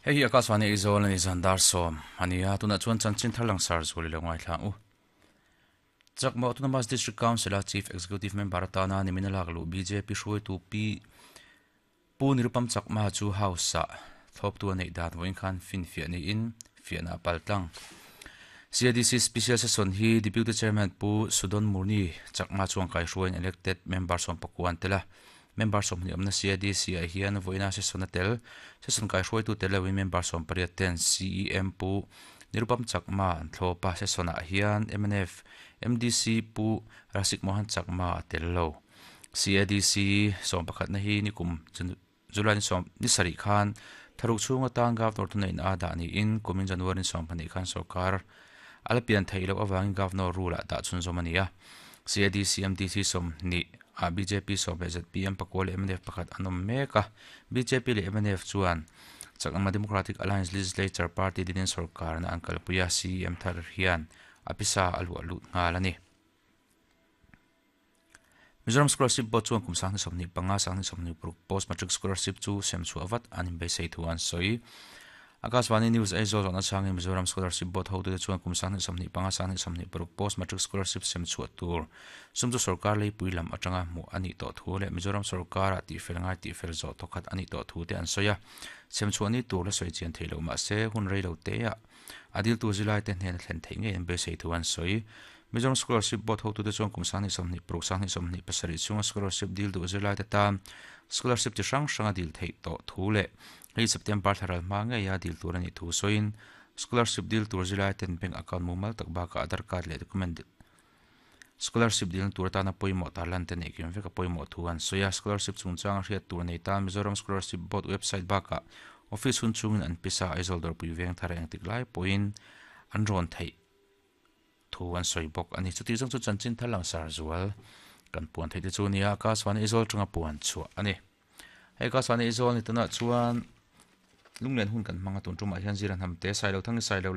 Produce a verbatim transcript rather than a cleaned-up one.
Hei hi Akashvani Aizawl ani zan dar sawm ania tunah chuan chanchin thar langsar zual ilo ngaithla ang u. Chakma Autonomous District Council a Chief Executive Member atana nimina lak luh B J P hruaitu Pi Pu Nirupam Chakma chu House ah thlawptu a neih dan vawiin khan finfiah niin fiahna a pal tlang. C A D C Special Session hi Deputy Chairman Pu Sudon Murni Chakma chuan kaihruaiin elected member sawm pakua an tel a. Member sawmhnih awmna C A D C ah hian vawiina session a tel. Session kaihruaitu tel loin member sawm pariat ten C E M Pu Nirupam Chakma an thlawp a. Session ah hian M N F M D C Pu Rasik Mohan Chakma a tel lo. C A D C sawm pakhatna hi nikum July ni sawm ni sarih khan tharuk chhung atan Governor thuneihna a dah niin kumin January ni sawm pahnih khan sorkar a la pian theih loh avangin Governor rule ah dah chhunzawm a ni a. C A D C M D C sawmhnih ah B J P sawm leh Z P M pakua leh M N F pakhat an awm mek a. B J P leh M N F chuan Chakma Democratic Alliance Legislature Party dinin sorkarna an kalpui a. C E M thar hian a pisa a luah lut nghal a ni. Mizoram Scholarship Board chuan kum sanghnih sawmhnih panga sanghnih sawmhnih paruk Post Matric Scholarship chu sem chhuah vat an inbeisei thu an sawi. Akashvani News Aizawl zawhna changin Mizoram Scholarship Board hotute chuan kum sanghnih sawmhnih panga sanghnih sawmhnih paruk Post Matric Scholarship sem chhuah tur sum chu sorkar leipui lam atanga hmuh a nih tawh thu leh Mizoram sorkara tihfel ngai tihfel zawh thawkhat a nih tawh thu te an sawi a. Sem chhuah ni tur la sawi chian theih loh mah se hun rei lo te ah a diltu zilai te hnena thlen theih ngei an beisei thu an sawi. Mizoram Scholarship Board hotute chuan kum sanghnih sawmhnih paruk sanghnih sawmhnih pasarih chhunga scholarship dil duh zirlai te tan scholarship chi hrang hranga dil theih tawh thu leh hei September thlaral hma ngeia dil tur a nih thu sawiin scholarship dil tur zirlai ten bank account mumal tak bakah Aadhaar card leh document scholarship dilna tur atana pawimawh tarlan te neih kim vek a pawimawh thu an sawi a. Scholarship chungchanga hriat tur nei tan Mizoram Scholarship Board website bakah office hun chungin an pisa Aizawl Dawrpui veng thar engtik lai pawhin an rawn theih thu an sawi bawk ani. Chuti zawng chu chanchin thar langsar zual kan puan theih te chu nia Akashvani Aizawl tanga puan chhuah ani. Hei Akashvani Aizawl ni tunah chuan lunglen hun kan hmanga tun tumah hian zira hnam te Sailo Thangi Sailo.